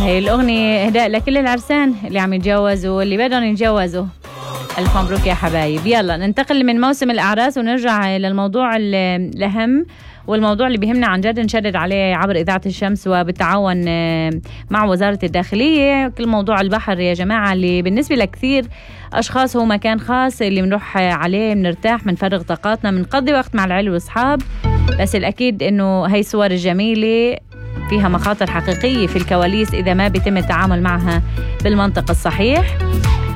هاي الأغنية إهداء لكل العرسان اللي عم يتجوزوا واللي بدهم يتجوزوا. ألف مبروك يا حبايب. يلا ننتقل من موسم الأعراس ونرجع للموضوع الأهم والموضوع اللي بيهمنا عن جد نشدد عليه عبر إذاعة الشمس وبالتعاون مع وزارة الداخلية. كل موضوع البحر يا جماعة اللي بالنسبة لكثير أشخاص هو مكان خاص اللي بنروح عليه بنرتاح بنفرغ طاقاتنا بنقضي وقت مع العيلة والأصحاب. بس الأكيد إنه هاي الصور الجميلة فيها مخاطر حقيقية في الكواليس إذا ما بيتم التعامل معها بالمنطق الصحيح.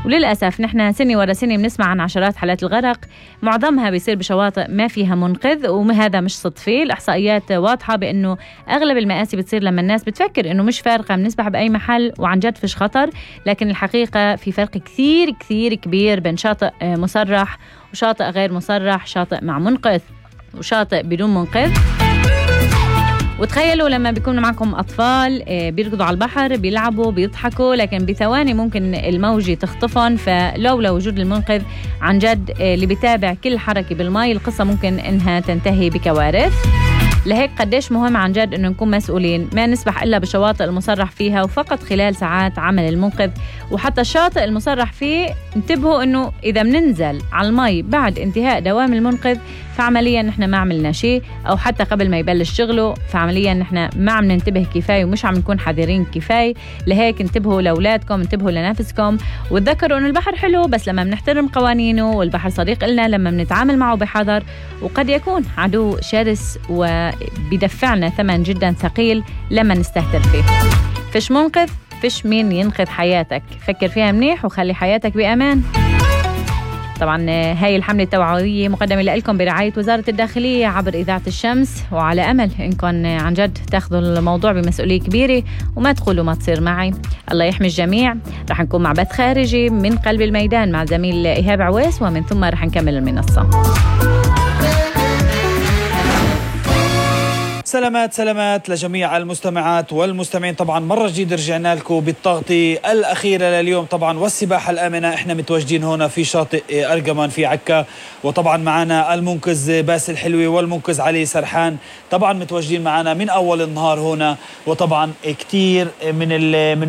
وللأسف نحن سنة ورا سنة بنسمع عن عشرات حالات الغرق، معظمها بيصير بشواطئ ما فيها منقذ، وهذا مش صدفة. الإحصائيات واضحة بأنه أغلب المآسي بتصير لما الناس بتفكر أنه مش فارقة بنسبح بأي محل وعن جد فيش خطر، لكن الحقيقة في فرق كثير كثير كبير بين شاطئ مصرح وشاطئ غير مصرح، شاطئ مع منقذ وشاطئ بدون منقذ. وتخيلوا لما بيكون معكم أطفال بيركضوا على البحر بيلعبوا بيضحكوا، لكن بثواني ممكن الموجة تخطفهم، فلولا وجود المنقذ عن جد اللي بيتابع كل حركة بالماء القصة ممكن إنها تنتهي بكوارث. لهيك قديش مهم عن جد إنه نكون مسؤولين، ما نسبح إلا بشواطئ المصرح فيها وفقط خلال ساعات عمل المنقذ. وحتى الشاطئ المصرح فيه انتبهوا إنه إذا مننزل على المي بعد انتهاء دوام المنقذ فعمليا نحن ما عملنا شيء، أو حتى قبل ما يبلش شغله فعمليا نحن ما عم ننتبه كفاية ومش عم نكون حذرين كفاية. لهيك انتبهوا لأولادكم، انتبهوا لنفسكم، وتذكروا إنه البحر حلو بس لما بنحترم قوانينه، والبحر صديق إلنا لما بنتعامل معه بحذر، وقد يكون عدو شرس وبيدفعنا ثمن جدا ثقيل لما نستهتر فيه. فيش منقذ، فيش مين ينقذ حياتك، فكر فيها منيح وخلي حياتك بأمان. طبعا هاي الحملة التوعوية مقدمة لكم برعاية وزارة الداخلية عبر إذاعة الشمس، وعلى أمل إنكم عن جد تاخذوا الموضوع بمسؤولية كبيرة وما تقولوا ما تصير معي. الله يحمي الجميع. رح نكون مع بث خارجي من قلب الميدان مع زميل إيهاب عويس، ومن ثم رح نكمل المنصة. سلامات لجميع المستمعات والمستمعين. طبعا مرة جديدة رجعنا لكم بالتغطية الأخيرة لليوم طبعا والسباحة الآمنة. احنا متواجدين هنا في شاطئ أرجمان في عكا، وطبعا معنا المنقذ باسل حلوي والمنقذ علي سرحان، طبعا متواجدين معنا من أول النهار هنا. وطبعا كتير من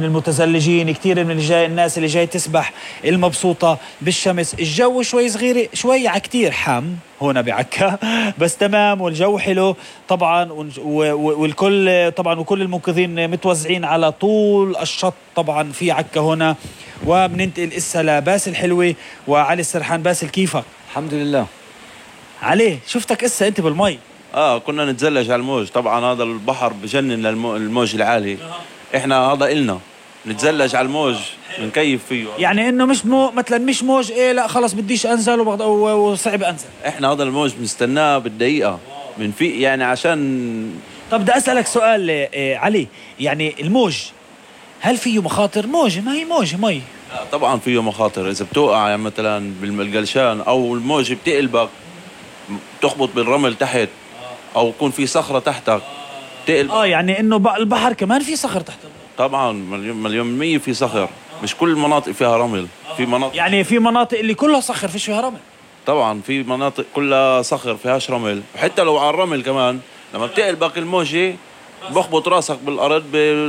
المتزلجين، كتير من الناس اللي جاي تسبح المبسوطة بالشمس. الجو شوي صغير شوي كتير حام هنا بعكا بس تمام، والجو حلو طبعا، والكل طبعا وكل المنقذين متوزعين على طول الشط طبعا في عكا هنا. وبننتقل إسا لباسل حلوي وعلي السرحان. باسل كيفك؟ الحمد لله. علي شفتك إسا أنت بالمي. كنا نتزلج على الموج. طبعا هذا البحر بجنن الموج العالي. احنا هذا إلنا نتزلج على الموج نكيف فيه. يعني انه مش مثلا مش موج لا خلص بديش انزل وصعب انزل. احنا هذا الموج بنستناه بالدقيقة بنفيق يعني عشان. طب بدي اسألك سؤال علي، يعني الموج هل فيه مخاطر؟ موج ما هي موج مي. طبعا فيه مخاطر. اذا بتوقع يعني مثلا بالقلشان او الموج بتقلبك بتخبط بالرمل تحت او يكون في صخرة تحتك تقلب. يعني انه البحر كمان في صخر تحت. طبعا مليون 100 في صخر. مش كل المناطق فيها رمل. في مناطق يعني في مناطق اللي كلها صخر فيش فيها رمل. طبعا في مناطق كلها صخر فيهاش رمل، وحتى لو على الرمل كمان لما بتقلبك الموجة بخبط راسك بالأرض